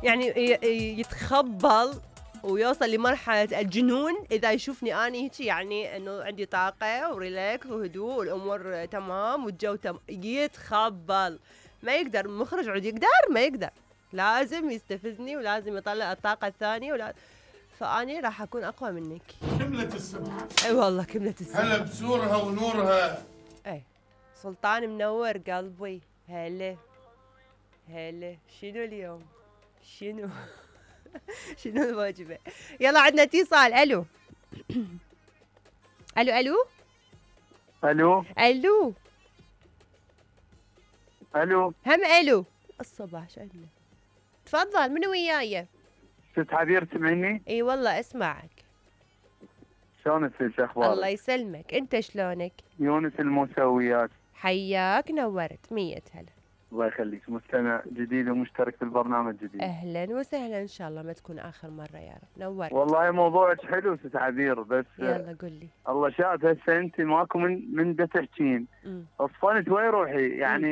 يعني يتخبل ويوصل لمرحلة الجنون إذا يشوفني أنا هيك، يعني إنه عندي طاقة وريلاكس وهدوء والأمور تمام والجو يتخبل. ما يقدر المخرج عود يقدر، ما يقدر، لازم يستفزني ولازم يطلع الطاقة الثانية فأني راح أكون أقوى منك. كملة الصبح. أي والله كملة الصبح. هلا بسورها ونورها. أي سلطان منور قلبي. هلا هلا. شنو اليوم؟ شنو؟ شنو الوجبة؟ يلا عندنا اتصال. الو الو الو الو الو الو هم الو الصباح شو عندنا؟ تفضل، منو وياي؟ ست عبير تسمعيني؟ اي والله اسمعك. شلونك ست اخبارك؟ الله يسلمك، انت شلونك؟ يونس الموسويات. حياك نورت. 100 هلا. الله يخليك، مستمع جديد ومشترك في البرنامج جديد. اهلا وسهلا، ان شاء الله ما تكون اخر مره يا رب. نورت والله موضوعك حلو ست عبير، بس يلا قل لي. الله شاهد هسه انت ماكو من دا تحكين. اصفنت وين روحي يعني.